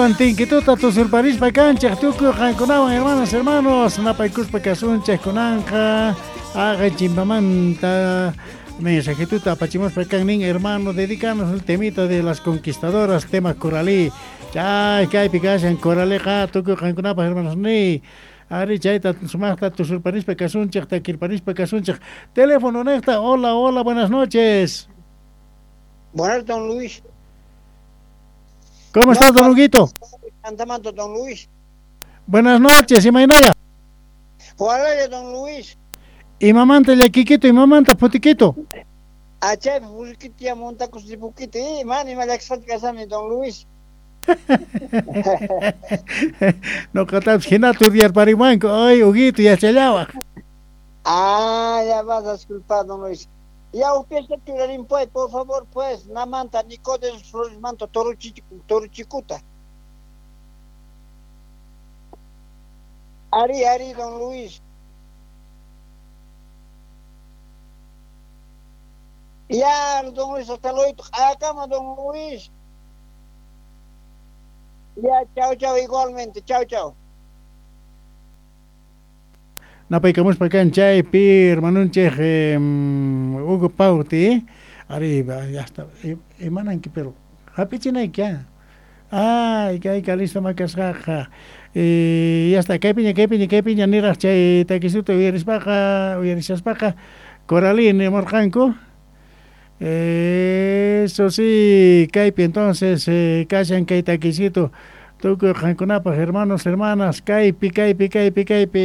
Chaywan tinkituta tusurparispa kanchik tukuy qankunawan hermanas hermanos napaykuspa kasunchik kunanqa haqay chimpamanta mensajituta apachimuspa kan nin hermano dedicanos el temita de las conquistadoras tema Coralí. Chay kaypi kashan Coraliqa tukuy qankunapaq hermanos ni Ari chayta sumaqta tusurparispa kasunchik takirparispa kasunchik. Teléfono niqta hola hola buenas noches. Buenas, don Luis. ¿Cómo estás, don Huguito? Antamanto, don Luis. Buenas noches, imaynalla. Hola, don Luis. Imamanta llakikito, imamanta putiquito. Achay purikita ya montakus ripukita, mana ima llakisqachu kashani, don Luis. Noqatapis hinata uryarpariwanku, ay Huguito yachallawaq. Ah, ya vas a disculpar, don Luis. Ya upyasha churarin pues, por favor, pues, namanta Nicodes Flores manto Torochicuta. Ari, ari, don Luis. Ya, don Luis, hasta luego. Acá, don Luis. Ya, chao, chao, igualmente. Chao, chao. Napaykamuspa kan chaypi hermanunchik Hugo Pauti. Ari, ya está. Imananki pero hap'ichinayki Ay, kay listo makasqaqa. Ya está, kaypiña, kaypiña, kaypiña niraq chay takisuta uyarispaqa, uyarishaspaqa Coralí nimurqanku. Eso sí, kaypi entonces kashan kay takisito tukuy qankunapaq hermanos, hermanas, kaypi, kaypi, kaypi, kaypi.